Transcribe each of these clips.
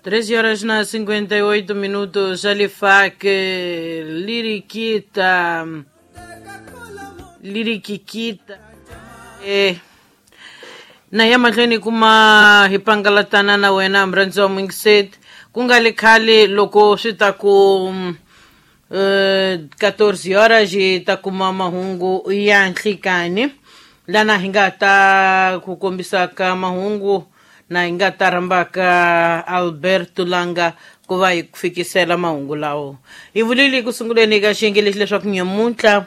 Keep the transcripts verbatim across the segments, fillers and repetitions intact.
treze horas na cinquenta e oito minutos, Alifac, Liriquita, Liriquiquita. Eh, na ya mahlweni kuma hi pangalatana na wena mrhandzi wa Mingset, ku nga le khale loko swi ta ku eh, quatorze horas hi ta kuma mahungu ya nhlikani lana hi nga ta ku kombisaka mahungu na hi nga ta rhambaka Alberto Langa ku va hi fikisela mahungu lawo. Hi vulile ku sunguleni ka xiyenge lexi leswaku nyamuntlha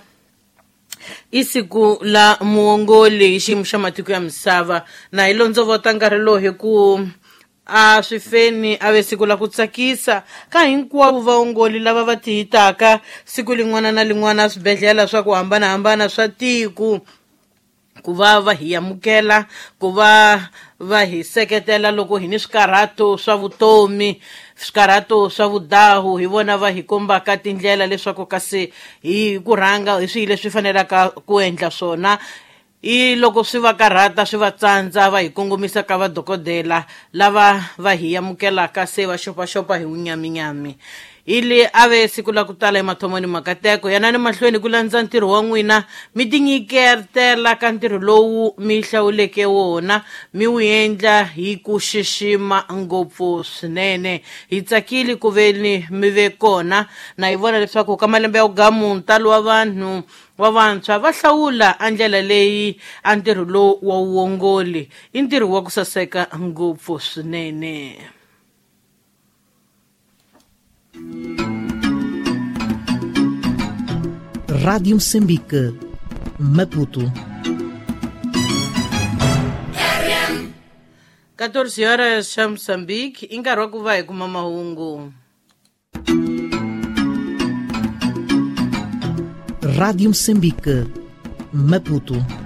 i siku la muongoli hi xiyimo xa matiko ya misava, na hi londzovota nkarhi lowu hi ku a swi feni a ve siku la ku tsakisa ka hinkwavo vaongoli lava va tihitaka siku lin'wana na lin'wana swibedhlele swa ku hambanahambana swa tiko, ku va va hi amukela, ku va va hi seketela loko hi ni swikarhato swa vutomi, swikarhato swa vudahu, hi vona va hi kombaka tindlela leswaku kasi hi ku rhanga hi swihi leswi fanelaka ku endla swona. I loko swi va karhata swi va tsandza va hi kongomisa ka vadokodela lava va hi amukelaka se va xopaxopa hi wunyaminyami. Ili a ve siku la ku tala emathomoni makateko, yanani mahlweni ku landza ntirho wa n'wina, mi tinyiketela ka ntirho lowu mi hlawuleke wona, mi wu endla hi ku xixima ngopfu swinene. Hi tsakile ku veni mi ve kona, na hi vona leswaku ka malembe ya wugamu ntalo wa vanhu wa vantshwa va hlawula a ndlela leyi a ntirho lowu wa wuongoli i ntirho wa ku saseka ngopfu swinene. Rádio Moçambique, Maputo. quatorze horas xa Moçambique, i nkarhi wa ku va hi kuma mahungu. Rádio Moçambique, Maputo.